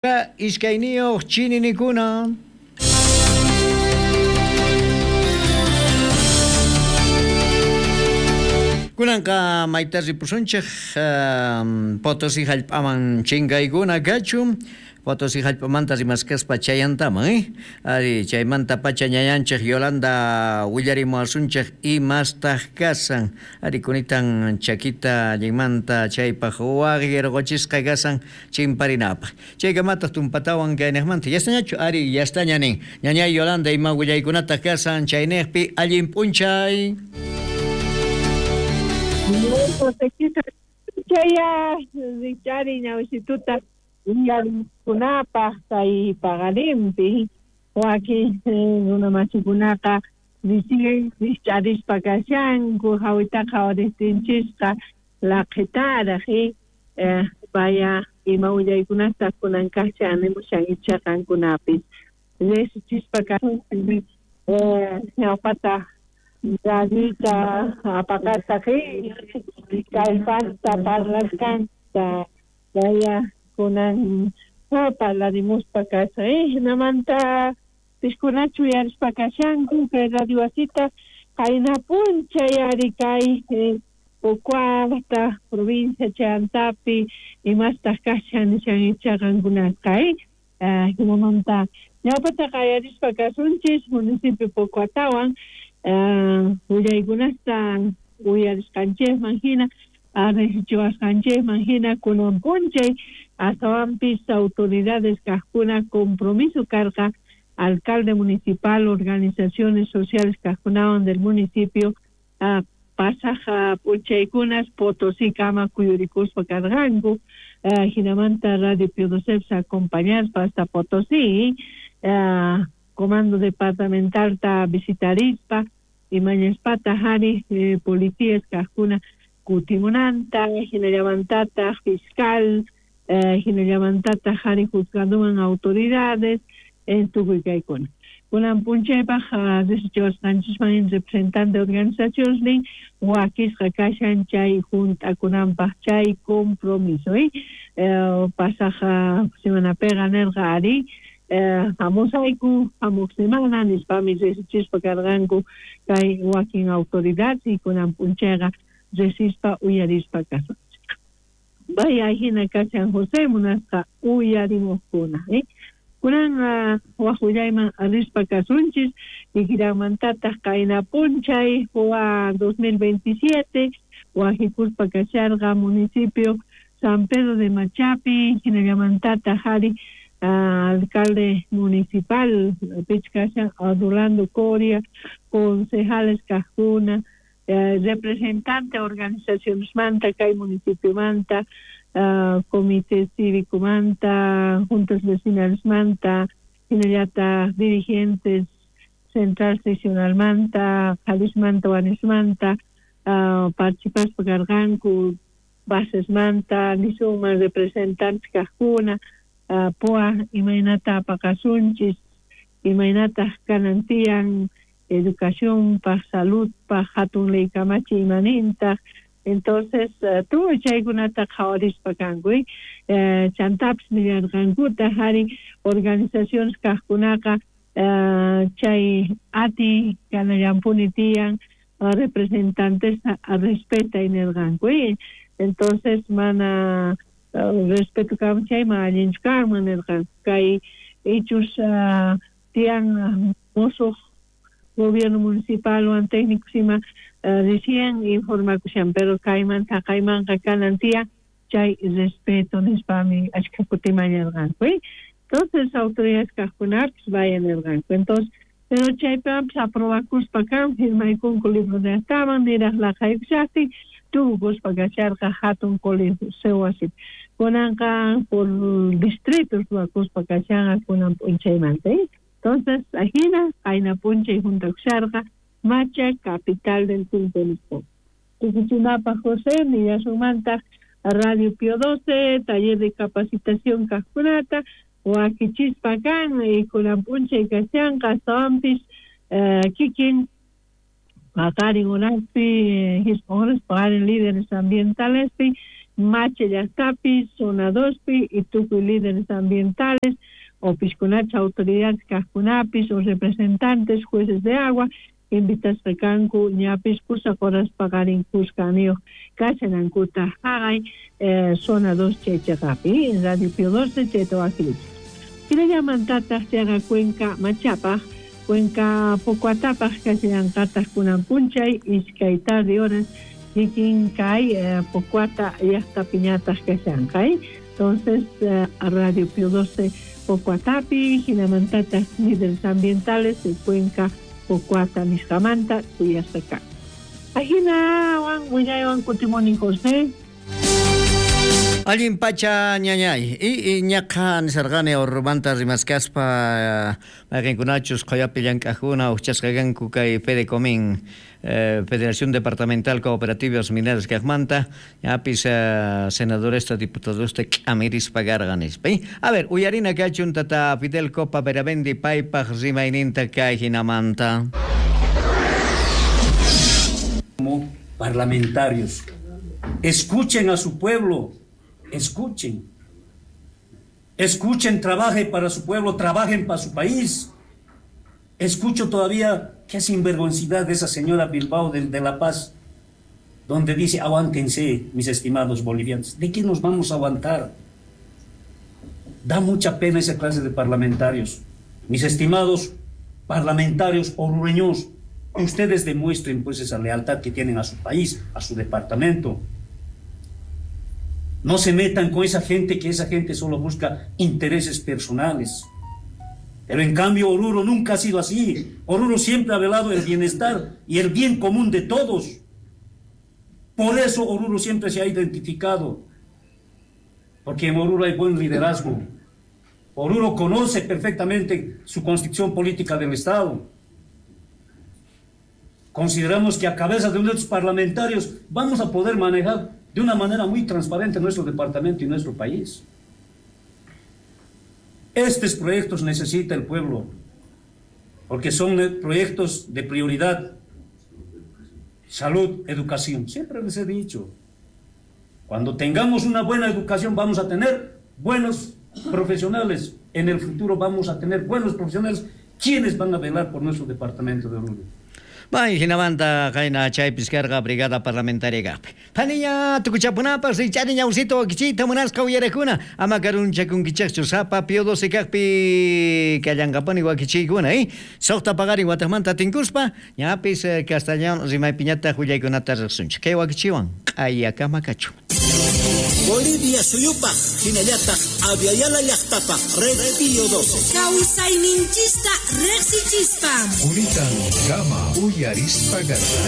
Iskayniyuq chininikuna. Kunanqa mayta ripusunchej Potosí hallp'aman chinkaykuna kachun. Potosí hallp'amanta rimaskaspa chayantaman, eh? Ari, chaymantapacha ñañanchej Yolanda willarimuwasunchej imastaq kasan. Ari, kunitan chakita allinmanta chaypaq waqyarqochisqa kasan chimparinapaq. Chaykamataq tumpatawan kayniqmanta yastañachu? Ari, yastaña nin. Ñañay Yolanda, ima willaykunataq kasan chayniqpi allin p'unchay. Chaya richari ñawisituta uyarikunapaq kay paqarinpi wakin runa masikunaqa recién rich'arispa kashanku hawitaqa qhawarisqanchisqa laqhitaraq vaya ima willaykunataq kunan kashan nimushan icha qankunapis riqsichispa kasunchis ñawpata radioyta apaqasaq kallpasta parlasqanta vaya kunan parlarimuspa kashan hinamanta pishkunachu uyarispa kashanku kay radio wasita qayna p'unchay ari kay Pocoata provincia chayantapi imastaq kashan nishan icha qankunasqa hinamanta ñawpata qayarispa kasunchis municipio Pocoatawan willaykunasta uyarisqanchikman hina riqsichiwasqanchikman hina kunan p'unchay astawanpis autoridades kaqkuna compromiso karqa alcalde municipal organizaciones sociales kaqkunawan del municipio pasaq p'unchaykunas Potosí kama kuyurikuspa karqanku hinamanta Radio Pio XII acompañaspa hasta Potosí comando departamentalta visitarispa imañaspataq ari policías kaqkuna kutimunanta hinallamantataq fiscal hinallamantataq ari juzgadoman autoridades tukuy kaykuna kunan p'unchaypaq riqsichiwasqanchisman representante organizacionesnin wakisqa kashan chay hunt'akunanpaq chay compromiso pasaq semanapiqa nirqa ari hamusayku hamuq semana nispami riqsichispa karqanku kay wakin autoridades y kunan p'unchayqa riqsispa uyarispa kasunchik vaya hina kashan José munasqa uyarimuqkuna kunan waq willayman rispa kasunchis kikiranmantataq qayna p'unchay 2027 wajikuspa kasharqa municipio San Pedro de Machapi hinallamantataq ari alcalde municipal pich kashan Rolando Coria concejales kaqkuna representante organizacionesmanta kay municipiomanta comité cívicomanta juntas vecinalesmanta hinallataq dirigentes central seccionalmanta qharismanta warmismanta participaspa karqanku basesmanta nisunman representantes kaqkuna POA imaynata apaqasunchis imaynataq kanan tiyan educacionpaq saludpaq hatun ley kamachiy imanintaq entonces tukuy chaykunata qhawarispa kanku chantapis nillarqankutaq ari organizaciones kaqkunaqa chay atiy kanallampuni tiyan representantesta respetay nirqanku entonces mana respeto kanman chayman allinchu kanman nirqanku kay ichus tiyan musuq gobierno municipalwan técnicos ima recién informakushan pero kaymanta kaymanqa kanan tiyan chay respeto nispami achka kutiman nirqanku entonces autoridades kaqkunapis vaya nirqanku entonces pero chaypiwanpis aprobakuspa kan firmaykunku libro de actaman niraq laqhaykushaqtin tukukuspa kasharqa hatun coliseo wasipi kunanqa por distritos ruwakuspa kashanqa kunan p'unchaymanta entonces ajina qayna p'unchay juntakusharqa Macha capital del Quinto nispa tukuchinapaq José nillasunmantaq Radio Pio XII taller de capacitación kaqkunata wakichispa kan y kunan p'unchay kashanqa astawanpis kikin paqarin horaspi hisq'un horas paqarin líderes ambientalespi Mache llaqtapi, zona 2pi y tukuy líderes ambientales o piskunacha autoridades kajkunapis o representantes, jueces de agua, invitasqa kanku ñapis pusaq horas paqarin kuskaniyuq kashanankuta haqay zona 2 chay cheqapi, Radio Pío 12 chayta wakilichis. Hinallamantataq chayqa Cuenca Machapaq, Cuenca Pocoatapaq kashallanqataq kunan p'unchay iskay tarde horas kikin kay Pocoata llaqtapiñataq kashanqa. Entonces Radio Pío 12 Pocoatapi, hinamantataq líderes ambientales de Cuenca Pocoata nisqamanta suyasqa kanqa. Ajinawan willaywan kutimuni José. Allin pacha ñañay y ñaqa nisarqani Orurumanta rimaskaspa mayqinkunachus qhoyapi llank'ajkuna ujchasqa kanku kay Fedecomin Federación Departamental Cooperativas Mineras kaqmanta ñapis senadoresta diputadosta k'amirispa karqa nispa. A ver, uyarina kachun tata Fidel Copa Beravendi paypaq rimayninta kay hinamanta. Como parlamentarios, escuchen a su pueblo, escuchen. Escuchen, trabajen para su pueblo, trabajen para su país. Escucho todavía qué sinvergüencidad de esa señora Bilbao de La Paz, donde dice, aguántense, mis estimados bolivianos. ¿De qué nos vamos a aguantar? Da mucha pena esa clase de parlamentarios. Mis estimados parlamentarios orureños, ustedes demuestren pues esa lealtad que tienen a su país, a su departamento. No se metan con esa gente, que esa gente solo busca intereses personales. Pero en cambio Oruro nunca ha sido así. Oruro siempre ha velado el bienestar y el bien común de todos. Por eso Oruro siempre se ha identificado. Porque en Oruro hay buen liderazgo. Oruro conoce perfectamente su constitución política del Estado. Consideramos que a cabeza de uno de los parlamentarios vamos a poder manejar de una manera muy transparente nuestro departamento y nuestro país. Estos proyectos necesita el pueblo, porque son proyectos de prioridad. Salud, educación. Siempre les he dicho, cuando tengamos una buena educación vamos a tener buenos profesionales. En el futuro vamos a tener buenos profesionales quienes van a velar por nuestro departamento de Oruro. Bay, hinamanta qayna chaypis karqa brigada parlamentaria kaqpi. Phaniña tukuchapunapaq richani ñawsito wakichiyta munasqa uyarakuna ama karunchakunkichaqchu sapa Pío 12 kaqpi kallanqapuni wakichiykuna, Suqta paqarin wataqmanta tinkuspa ñapis castellano rimaypiñataq willaykunata riqsunchik. Kay wakichiwan q'ayakama kachun. Bolivia suyupaq hinallataq Aviala llaqtapaq Red Pío 12. Kawsayninchista riqsichispa. Unitan kama uyarispa garqa.